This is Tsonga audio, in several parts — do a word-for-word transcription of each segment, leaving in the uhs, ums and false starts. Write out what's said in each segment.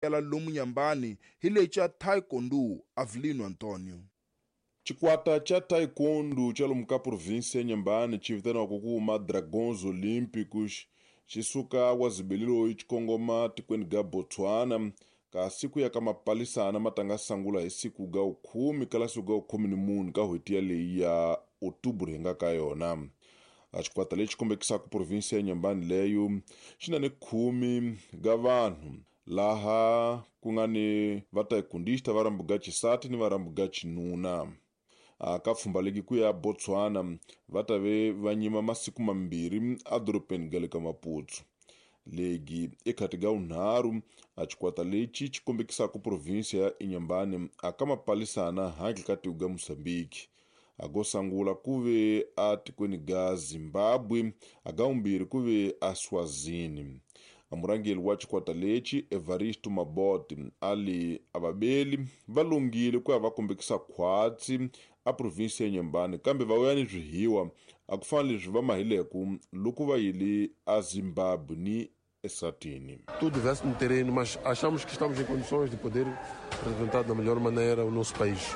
Lomu Nyambani hi lexa Taekwondo Avelino Antonio. Xikwata xa Taekwondo xa lomu ka provinsi ya Nyambani xi vitaniwaka ku ma Dragons Olímpicos xi suka wazibeliloyi xi kongoma tikweni ga Botswana kasi ku ya ka mapalisana ma tanga sangula hi siku ga khume kala siku ga khume ni mune ka n'hweti yaleyi ya Outubro hi nga ka yona. A xikwata lexi kombekisaka provinsi ya Nyambani leyo xi na ni khume ga vanhu laha ku nga ni vataekundista va rambu ga xisati ni va rambu ga xinuna. A ka pfhumba legi ku ya Botswana va ta ve va nyima masiku mambirhi edorobeni ga le ka Maputo. Legi ekhati ga vunharhu a xikwata lexi xi kombekisaka provinsi ya Inhambane a ka mapalisana handle ka tiko ga Mozambique. A go sangula ku ve a tikweni ga Zimbabwe, a ga vumbirhi ku ve a Swazini. A murhangeri wa xikwata lexi Evaristo Maboti a li a vabeli va lungile ku ya va kombekisa khwatsi a provinsi ya Inhambane kambe va vuya ni swihiwa a ku fana leswi va mahileku loko va yile a Zimbabwe ni Eswatini. Tudo veste no terreno, mas achamos que estamos em condições de poder representar da melhor maneira o nosso país.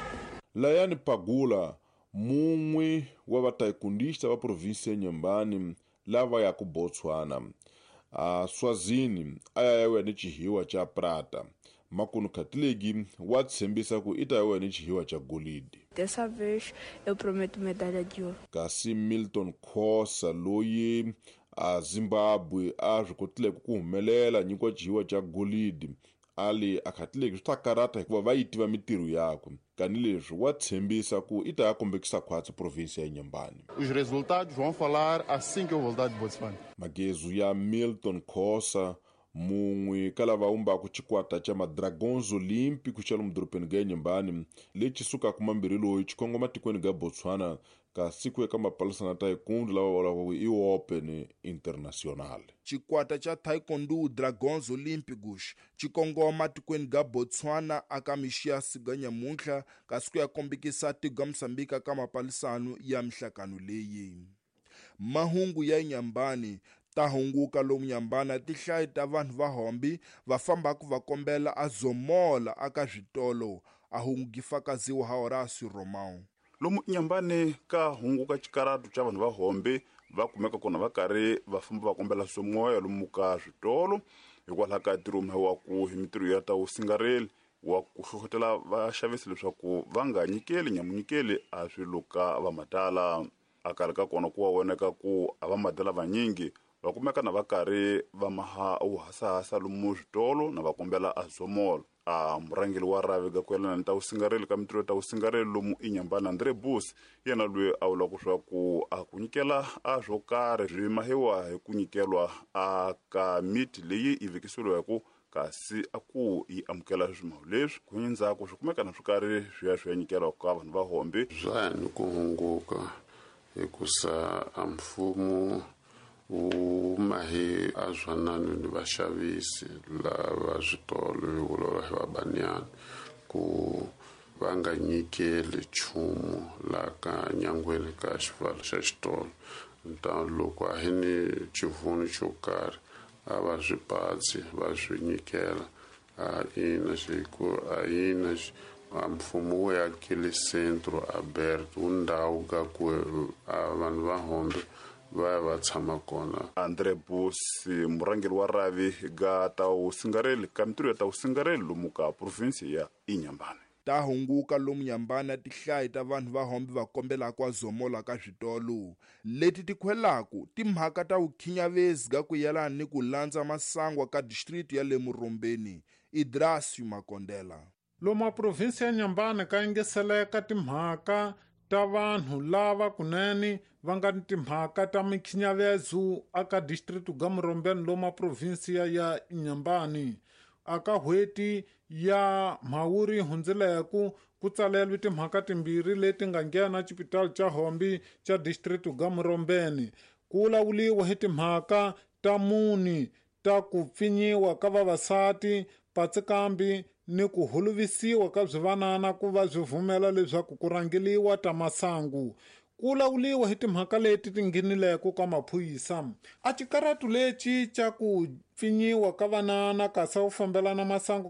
Layani Pagula, mun'we wa vataekundista va provinsi ya Inhambane lava ya ku Botswana. A Swazini a ya ya ni xihiwa xa prata. Makunu Khatilegi wa tshembisa ku i ta ya ni xihiwa xa golidi. Dessa vez eu prometo medalha de ouro. Kasi Milton Khosa loyi a Zimbabwe a swi kotile ku humelela nyikiwa xihiwa xa golidi a li a Khatilegi swi ta karata hikuva va yi tiva mintirho yakwe. Kanileswi wa tshembisa ku i ta ya kombekisa khwatsi provinsi ya Inhambane. Os resultados vão falar assim que eu voltar de Botswana. Magezu ya Milton Khosa mun'we ka lava vumbaka xikwata xa ma-Dragons Olímpicos xa lomu dorobeni ga Inhambane lexi sukaka mambirhi loyi xi kongoma tikweni ga Botswana kasi ku ya ka mapalisana taekwondo lava vulaka ku i Open International. Xikwata xa Taekwondo Dragons Olímpicos xi kongoma tikweni ga Botswana aka mixiyasi ga nyamuntlha kasi ku ya kombekisa tiko ga Mozambique ka mapalisano ya mihlakano leyi. Mahungu ya Inhambane ta hunguka lomu Nyambana tihlayi ta vanhu va hombi va fambaka va kombela a zomola aka switolo a hungu fakaziwa ha Horacio Romão. Lomu Inhambane ka hunguka xikaratu xa vanhu va hombi va kumeka kona va karhi va famba va kombela swomoya lomu ka switolo hikwalaho ka ntirho wa ku hi mintirho ya ta vusingareli wa ku hlohlotela vaxavisi leswaku va nga nyikeli nyamunyikeli a swilo ka va matala. A karhi ka kona ku wa voneka ku a va madala vanyingi va kumeka na va karhi va maha wuhasahasa lomu switolo na va kombela a zomola. A murhangeri wa rhavi ga ku yelana ni ta vusingareli ka mintirho ta vusingareli lomu Inhambane André Bus yena loyi a vulaka swa ku a ku nyikela a swo karhi swi mahiwa hi ku nyikelwa a ka miti leyi yi vekisiweke kasi a ku yi amukela swimahu leswi ku ndzhaku swi kumeka na swo karhi swi ya swi ya nyikelwa ka vanhu va hombi. Swa ya ni ku hunguka hikusa a mfumo wu mahi a zwanani ni vaxavisi lava switolo hi vulavula hi vabanyana ku va nga nyikeli nchumu laha ka nyangweni ka xivalo xa xitolo. Ta loko a hi ni xivunu xo karhi a va swi patsi va swi nyikela a ina xiku a ina a mfumo wu akile centro aberto wu ndhawu ka ku a vanhu va hombe va ya va tshama kona. André Bus murhangeri wa rhavi ga ta vusingareli ka mintirho ya ta vusingareli lomu ka provinsi ya Inhambane. Ta hunguka lomu Nyambana tihlayi ta vanhu va hombi va kombelaka a zomola ka switolo leti ti khwelaku timhaka ta vukhinyavezi ga ku yelana ni ku landza masangwa ka district ya le Murombeni. Idrasio Makondela. Lomu a provinsi ya Inhambane ka yingiseleka timhaka ta vanhu lava kunene va nga ni timhaka ta mikhinyavezo aka district ga Murombeni lomu a provinsi ya Inhambane. Aka n'hweti ya Mhawuri hundzileku ku tsalelwe timhaka timbirhi leti nga nghena xipitali xa Hombi xa district ga Murombeni. Ku vulavuriwa hi timhaka ta muni ta ku pfinyiwa ka vavasati patsikambi ni ku holovisiwa ka swivanana ku va swi vumela leswaku ku rhangeliwa ta masangu. Ku lawuliwa hi timhaka leti ti nghenileko ka maphorisa. A xikaratu lexi xa ku pfinyiwa ka vanana kasi a wu fambelana masangu ka